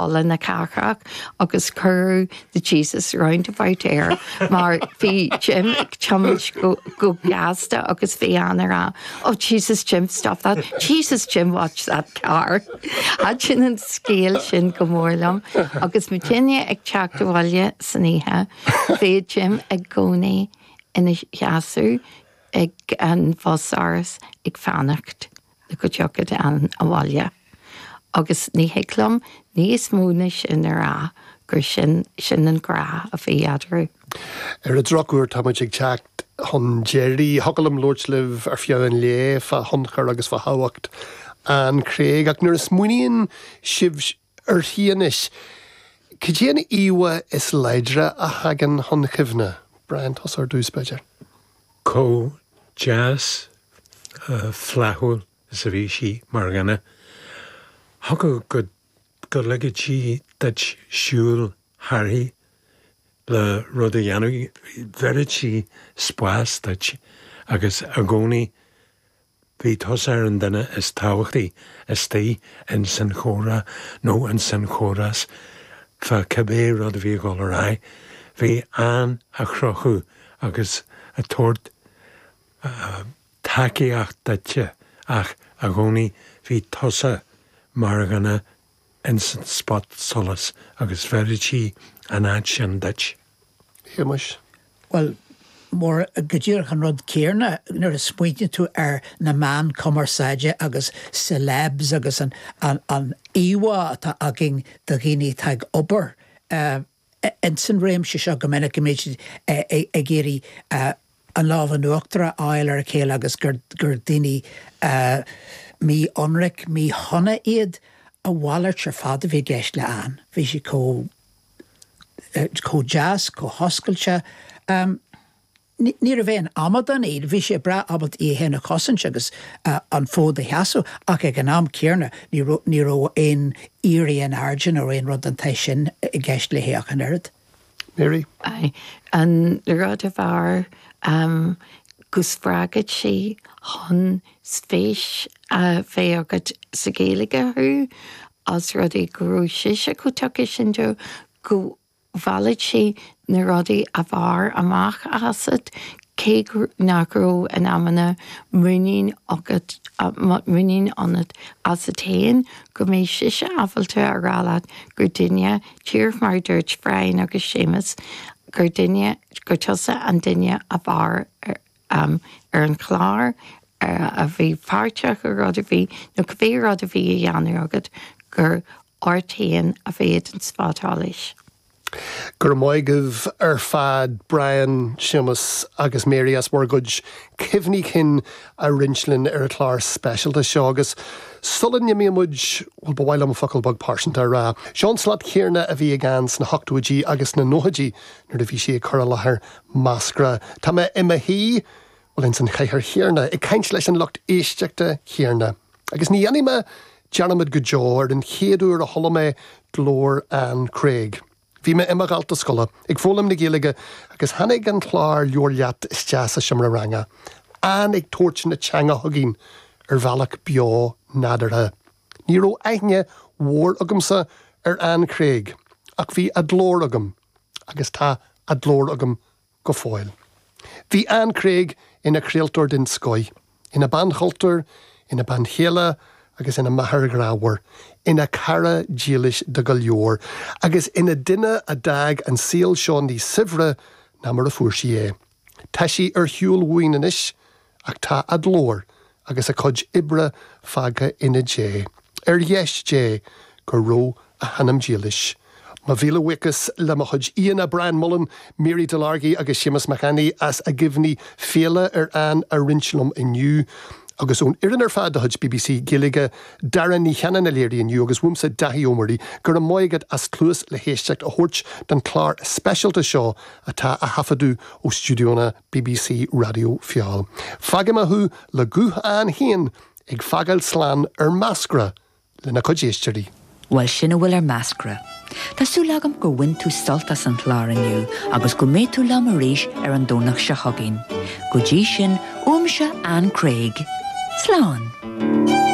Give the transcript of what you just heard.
Halla na Cathrach agus cuireadh The Jesus Roundabout air mar bhí Jim ag tiomáint go gasta agus bhí Ann ag rá Oh Jesus Jim stop that, Jesus Jim watch that car. Thaitin an scéal sin go mór liom agus muidinne ag teacht abhaile san oíche bhí Jim i gcónaí ina sheasamh ag an bhus-áras ag fanacht. go dtiocfadh Ann abhaile. Agus ní thig liom níos mó ná sin a rá, gur sin, sin an grá a bhí eadarthu. Ar an drochuair tá muid ag teacht chun deiridh. Thiocfadh liom labhairt libh ar feadh an lae fá thionchar agus fá thábhacht Ann Craig ach nuair a smaoiníonn sibh uirthi anois, cad é an íomhá is láidre a thagann chun cuimhne? Brian, tusa ar dtús, b'fhéidir. Chomh deas flaithiúil is a bhí sí mar dhuine. Thiocfadh go go ligfeadh sí duit siúl thairthi le rud a dhéanamh, bheireadh sí spás duit agus i gcónaí bhí tusa ar an duine is tábhachtaí istigh ins an chomhrá nó ins an chomhrás fá cibé rud a bhí ag dul ar aghaidh. Bhí Ann á chrochadh agus ag tabhairt tacaíocht duitse ach i gcónaí bhí tusa mar dhuine ins an spotsolas agus bheireadh sí an áit sin duit. Shéamuis. Bhuel, mar go díreach an rud céarna nuair a smaoiníonn tú ar na meáin cumarsáide agus celebs agus an an íomhá atá againn de dhaoine atá ag obair ins an réimse seo go minic go mbíonn siad ag iarraidh an lámh in uachtar a fháil ar a chéile agus gur daoine mí-ionraic, míshona iad. A mhalairt ar fad a bhí i gceist le Ann. Bhí sí chomh chomh deas, chomh hoscailte. Ní raibh aon amadán í, bhí sé breá ábalta í féin a chosaint agus an fód a sheasamh ach ag an am céarna ní raibh ní raibh aon éirí in airde nó aon rud den tsaghas sin i gceist léi ach an oiread. Mary. Aye. An rud ab fhearr go spreagfadh sí chun spéis a bheith agat sa Ghaeilge thú os rud é go raibh sise chomh tugtha sin dó go mheallfadh sí na rudaí ab fhearr amach asat, cé nach raibh in amanna muinín agat, muinín ionat asat féin, go mbeadh sise ábalta a rá leat gur duine, díreach mar a dúirt Brian agus Séamus, gur duine, gur tusa an duine ab fhearr ar an chlár, a bhí páirteach i rud ar bith, nó cibé rud a bhí á dhéanamh agat, gur ort féin a bheadh an spotsolas. Go raibh maith agaibh ar fad, Brian, Séamus agus Mary as bhur gcuid cuimhní cinn a roinnt linn ar an chlár speisialta seo agus sula n-imíonn muid, bhuel, ba mhaith liom focal beag pearsanta a rá. Seo an slat chéanna a bhí ag Ann sna hochtóidí agus sna nóchaidí nuair a bhí sí ag cur i láthair Meascra. Tá mé i mo shuí, bhuel, ins an chathaoir chéanna, ag caint leis an lucht éisteachta chéanna. Agus ní dhéanfaidh mé dearmad go deo ar an chéad uair a chuala mé glór Ann Craig. Bhí mé i mo dhalta scoile, ag foghlaim na Gaeilge agus tháinig an clár Labhair Leat isteach sa seomra ranga. Ann ag tabhairt na teanga chugainn ar bhealach beo nádúrtha. Ní raibh aithne mhór agamsa ar Ann Craig ach bhí a glór agam agus tá a glór agam go fóill. Bhí Ann Craig ina craoltóir den scoith, ina bean chultúir, ina bean chéile agus ina máthair ghrámhar, ina cara dílis do go leor, agus ina duine a d'fhág an saol seo níos saibhre ná mar a fuair sí é. Tá sí ar shiúl uainn anois, Ach tá a glór agus a cuid oibre fágtha ina diaidh. Ar dheis Dé go raibh a hanam dílis. Mo mhíle buíochas le mo chuid aíonna, Brian Mullen, Mary Delargy agus Séamus Mac Annaidh as a gcuimhní fiáine ar Ann a roinnt liom inniu. Agus ón fhoireann ar fad de chuid bbc Gaeilge, Dara Ní Chanainn a léirigh inniu agus uaimse Dáithí Ó Muirí, go raibh maith agat as cluas le héisteacht a thabhairt don chlár speisialta seo atá á thaifeadadh ó stiúideonna bbc Raidió Feabhail. Fágfaidh mé thú le guth Ann féin ag fágáil slán ar Meascra lena cuid éisteoirí. Bhuel, sin a bhfuil ar Meascra. Tá súil agam gur bhain tú sult as an chlár inniu agus go mbeidh tú liom arís ar an Domhnach seo chugainn. Go dtí sin, uaimse Ann Craig. Slán!